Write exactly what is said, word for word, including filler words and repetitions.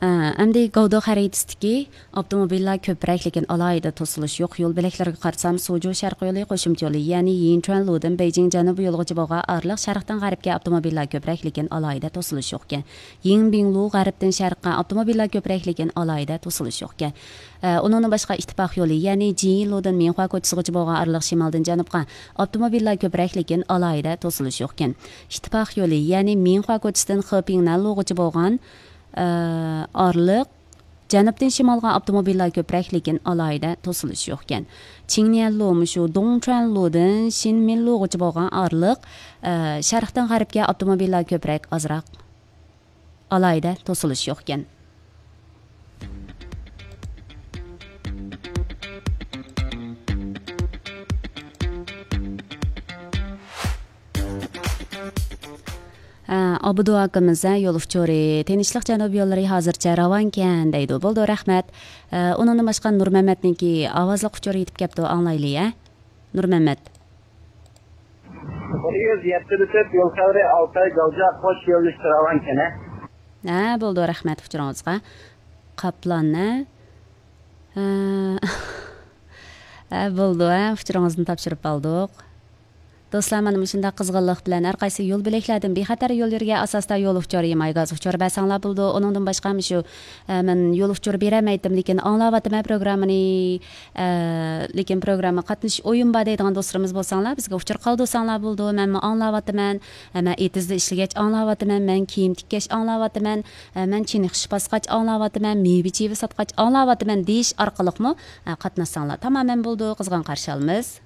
ئەمدى گاۋدو خەرىتىسىدىكى ئاپتوموبىللار كۆپرەك، لېكىن ئالاھىدە توسۇلۇش يوق يول بۆلەكلىرىگە قارىسام، سۇجۇ شەرقىي يولى، قوشۇمچە يولى، يەنى يىنچۈەنلۇدىن بېيجىڭ جەنۇبىي يولىغىچە بولغان ئارىلىق شەرقتىن غەربكە ئاپتوموبىللار كۆپرەك، لېكىن ئالاھىدە توسۇلۇش يوقكەن. يىڭبىڭلۇ غەربتىن شەرققە ئاپتوموبىللار كۆپرەك، لېكىن ئالاھىدە توسۇلۇش يوقكەن. ئە، ئۇنىڭدىن باشقا ئىتتىپاق يولى، يەنى جىلۇدىن مىنخۇا كوچىسىغىچە بولغان ئارىلىق شىمالدىن جەنۇبقا ئاپتوموبىللار كۆپرەك، لېكىن ئالاھىدە توسۇلۇش يوقكەن. ئىتتىپاق يولى، يەنى مىنخۇا كوچىسىدىن خېپىڭنەنلۇغىچە بولغان، ئە، ئارىلىق جەنۇبتىن شىمالغا ئاپتوموبىللار كۆپرەك، لېكىن ئالاھىدە توسۇلۇش يوقكەن. چىڭنيەنلۇ مۇشۇ دۇڭچۈەنلۇدىن شىنمىنلۇغىچە بولغان ئارىلىق، ئە، شەرقتىن غەربكە ئاپتوموبىللار كۆپرەك، ئازراق. ئالاھىدە توسۇلۇش يوقكەن. ھە، ئابدۇ ئاكىمىز، ھە، يول ئۇچۇرى، تىنچلىق جەنۇب يوللىرى ھازىرچە راۋانكەن دەيدۇ. بولدى، رەھمەت. ھە، ئۇنىڭدىن باشقا نۇرمەمەتنىڭكى ئاۋازلىق ئۇچۇرى يېتىپ كەپتۇ، ئاڭلايلى، ھە؟ نۇرمەمەت. بىر يۈز يەتتە تۆت يول خەۋىرى، ئالتاي، گالجا، قوش يۆنىلىش راۋانكەن، ھە؟ ھە، بولدى، رەھمەت ئۇچۇرىڭىزغا. قاپلان، ھە؟ ھە. ھە، بولدى، ھە، ئۇچۇرىڭىزنى تاپشۇرۇپ ئالدۇق. دوستلار، مانا مۇشۇنداق قىزغىنلىق بىلەن ھەر قايسى يول بۆلەكلەردىن بىخەتەر يول يۈرگەن ئاساستا يول ئۇچۇرى، ماي گاز ئۇچۇر بەرسەڭلار بولىدۇ. ئۇنىڭدىن باشقا مۇشۇ، ئە، مەن يول ئۇچۇر بېرەلمەيتتىم، لېكىن ئاڭلاۋاتىمەن پروگراممىنى، ئە، لېكىن پروگرامما قاتنىشىش ئويۇم بار دەيدىغان دوستلىرىمىز بولساڭلار، بىزگە ئۇچۇر قالدۇرساڭلار بولىدۇ. مەنمۇ ئاڭلاۋاتىمەن، ئە، مەن ئېتىزدا ئىشلىگەچ ئاڭلاۋاتىمەن، مەن كىيىم تىككەچ ئاڭلاۋاتىمەن، ئە، مەن چىنىخىش باسقاچ ئاڭلاۋاتىمەن، مېۋە چىۋە ساتقاچ ئاڭلاۋاتىمەن دېيىش ئارقىلىقمۇ، ئە، قاتناشساڭلار تامامەن بولىدۇ. قىزغىن قارشى ئالىمىز.